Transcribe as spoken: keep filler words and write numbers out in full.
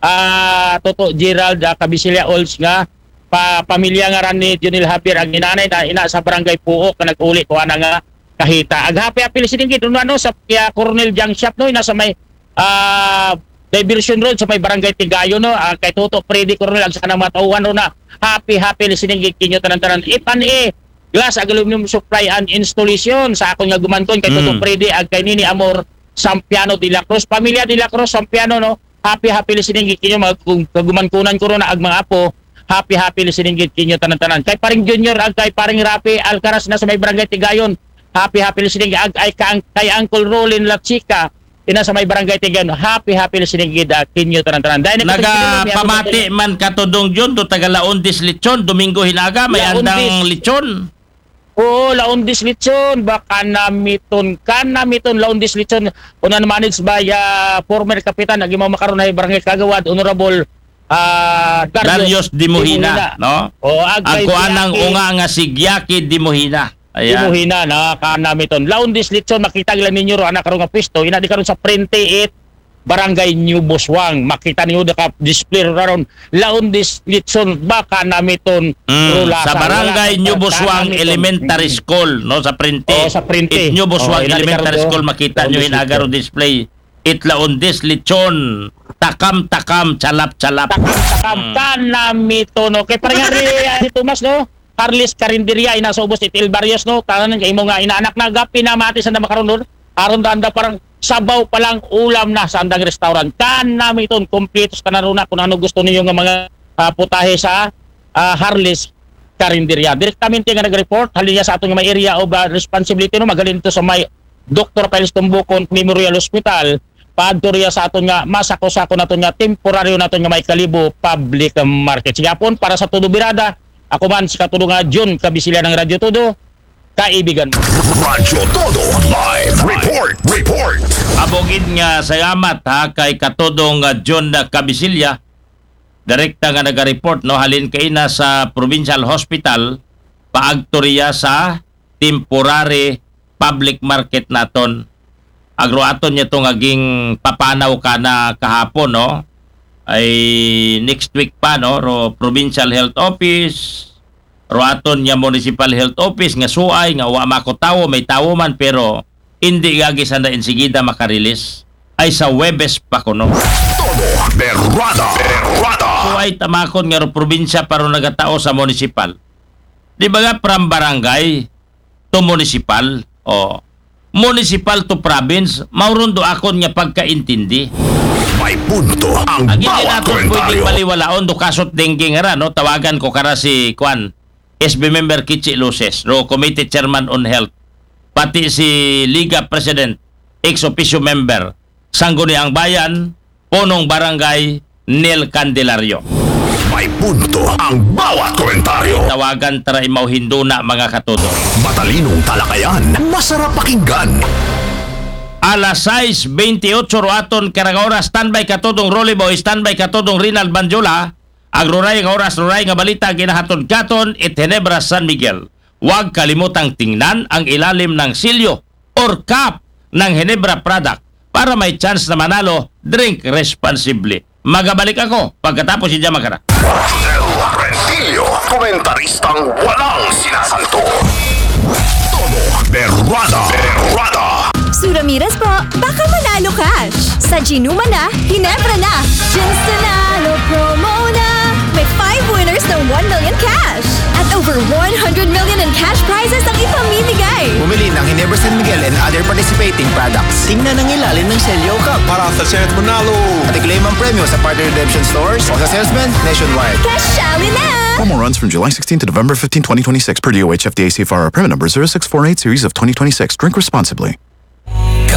ah, Toto Gerald, ah, Kabisilya Olds nga pa, pamilya nga ran ni Junil Javier ang inanay na ina sa barangay Puok nga nag-uli ko ana nga kahita. Ag happy happy listening gid no, ano, sa kaya Coronel Junk Shop, no, ina sa may, ah, Diversion Road sa may barangay Tigayon, no. Ah, kay Toto Freddy Coronel ag sa mga tauhan ron na happy happy listening gid kinyo tanan-tanan. F and A Glass ag Aluminum Supply and Installation sa akon nga gumankon kay Toto Freddy ag kay Nini Amor Sampiano de la Cruz, pamilya de la Cruz Sampiano, no. Happy happy listening gid kinyo mga kag-, kagumankunan ko ron ag mga apo. Happy happy listening gid kinyo tanan-tanan. Kay paring Junior ag kay paring Rafi Alcaraz na sa may barangay Tigayon. Happy happy listening ag ay kang kay Uncle Rolin La Chica ina sa may barangay Tigayon. Happy happy listening gid, ah, kinyo tanan-tanan. Dahil nagpamati man ka Tudong Jun, do taga Laundis Lechon, Domingo Hinaga, may andang lechon. Oo, Laundis Lechon, baka namiton, ka namiton, Laundis Lechon, una managed by, ah, former kapitan, agi mo makaron ay barangay kagawad, Honorable, ah, Darius Dimuhina, no? O, ag kay Ako anang Jackie unga nga si Gyaki Dimuhina. Ayan. Dimuhina, na ka namiton. Laundis Lechon, makita gila ninyo ro, anak ro nga pwesto, ina di karon sa Prente it, Barangay New Buswang. Makita niyo da ka display ro ron. Laundis Lechon, baka namiton, Mm, rulasa. Sa Barangay Wala New ka Buswang namiton. Elementary Mm. School, no, sa Printe. Oo, sa Printe. It New Buswang Oo, ina di Elementary karon School, makita nyo Laundis Lechon. It Laundis Lechon. Takam-takam, chalap-chalap. Takam-takam, Mm. ka namiton, no? Kay parang nga ri, ah, si Tomas, no? Carlis Carinderia, ina sa ubos, it El Barrios, no? Tanan kay imo nga inaanak na gapi na mati sa namakaron, no? Aron da anda parang sabaw pa lang ulam na sa andang restaurant. Ka namiton, kompleto sa tanan ron na kung ano gusto ninyo nga mga, ah, putahe sa, ah, Harlis Carinderia. Direktamente nga nag-report, halin niya sa aton nga may area of, ah, responsibility, no? Magaling to sa may Doktor Piles Tumbukon Memorial Hospital, paadto riya sa aton nga masako-sako naton nga temporaryo naton nga may Kalibo Public Market. Sige, hapon, para sa Todo Birada, ako man si Katudo nga Jun Kabisilya ng Radyo Todo, kaibigan mo. Radyo Todo Live Report. Report. Abogid nga salamat ha kay Katudong, ah, Jun Kabisilya, direkta nga naga-report, no, halin kaina sa Provincial Hospital, paagto riya sa temporary public market naton. Agro aton niya to nga ging papanaw ka na kahapon, no? Ay next week pa, no? Ro Provincial Health Office, ro aton niya Municipal Health Office nga suay nga wa mako tawo, may tawo man pero hindi gagi sanda insigida makarilis. Ay sa Webes pa kuno. Todo Berrada. Berrada. Suay tamakon nga ro probinsya para nagatao sa municipal. Di ba nga from barangay to municipal? O, municipal to province, mauron do akon nga pagkaintindi. May punto ang Agi bawat din nato komentaryo. Pwedeng baliwalaon do kasot dengue nga ra, no? Tawagan ko kara si, kwan, S B member Kichi Luces, ro committee chairman on health, pati si Liga President, ex officio member, Sangguniang Bayan, Punong Barangay, Nel Candelario. May punto ang bawat komentaryo. Tawagan tara imaw hinduna, mga katudo. Matalinong talakayan, masarap pakinggan. Alas sais bentiocho ro aton karag oras, standby katudong Rolly Boy, standby katudong Rinald Banjola. Ag ruray nga oras, ruray nga balita, ginahatod katon it Ginebra San Miguel. Huwag kalimutang tingnan ang ilalim ng silyo or cap ng Ginebra product para may chance na manalo. Drink responsibly. Magabalik ako pagkatapos si Jamakara. Rosel Rentillo, komentaristang walang sinasanto. Todo Berrada. Berrada. Sura Miras po, baka manalo cash. Sa Ginuma na, Ginebra na. Ginsunalo promo na. May five winners ng one million cash. At over one hundred million in cash prizes ang ipamimigay. Bumili ng Ginebra San Miguel and other participating products. Tingnan ang ilalim ng selyo cup para sa chance manalo. At i-claim ang premyo sa partner redemption stores o sa salesman nationwide. Cash Alley na! Promo runs from July sixteenth to November fifteenth, twenty twenty-six, per D O H F D A C F R, permit number zero six four eight series of twenty twenty-six. Drink responsibly.